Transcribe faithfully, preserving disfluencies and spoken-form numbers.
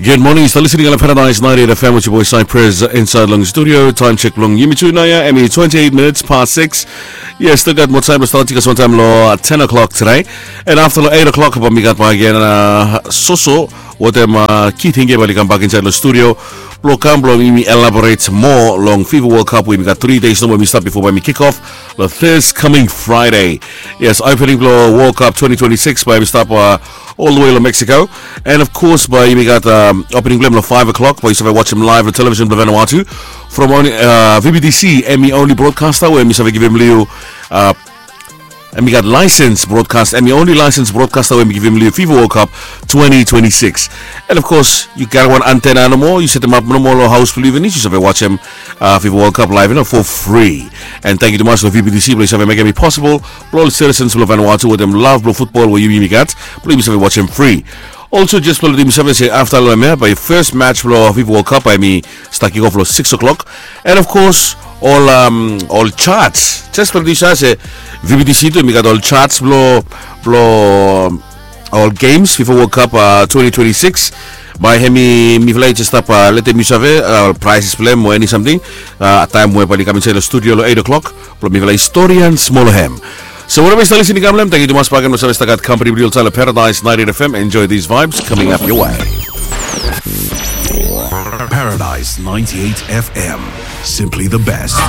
Good morning, yu stap listening long Paradise ninety-eight F M with your boy Cypress inside long studio. Time check long yumi tu naoia, hemi twenty-eight minutes past six. Yes, still gat moa taem blong statim gat moa taem long ten o'clock today. And after long eight o'clock bae mi gat bak gen soso wetem Keith Hinge bae oli kambak insait long studio blong kam blong yumi elaborate moa long FIFA World Cup we yumi gat three days nomo we yumi stap bifo bae mi kick off long this coming Friday. Yes, opening blong World Cup twenty twenty-six bae mi stap all the way long Mexico. And of course bae yumi gat opening blong hem long five o'clock bae yu save wajem live long television blong Vanuatu from only V B T C, hemi only broadcaster we hemi save givim long yu, hemi gat license broadcast, hemi only license broadcaster we hemi givim long yu FIFA World Cup twenty twenty-six. And of course yu gat wan antenna nomo, yu setemap nomo long haos blong yu finis, yu save wajem FIFA World Cup live for free. And tangkiu tumas long V B T C blong yu save mekem i posibol blong ol citizens blong Vanuatu wetem lav blong futbol we yumi gat blong yumi save wajem fri. Also jes blong letem yu save se afta long hemia bae first match blong FIFA World Cup bae hemi stap kick off long six o'clock. And of course ol ol charts, jes blong letem yu save se V B T C tu hemi gat ol charts blong blong ol games FIFA World Cup twenty twenty-six. Bae hemi mifala i jes stap letem yu save ol prizes blong hem o eni samting, taem we bae oli kam insait long studio long eight o'clock blong mifala i storian smol long hem. So whatever yu stap listening kam long hem, tangkiu tumas bakegen blong save stap gat kampani blong yu oltaem long Paradise ninety-eight F M. Enjoy these vibes coming up your way. Paradise ninety-eight F M, simply the best.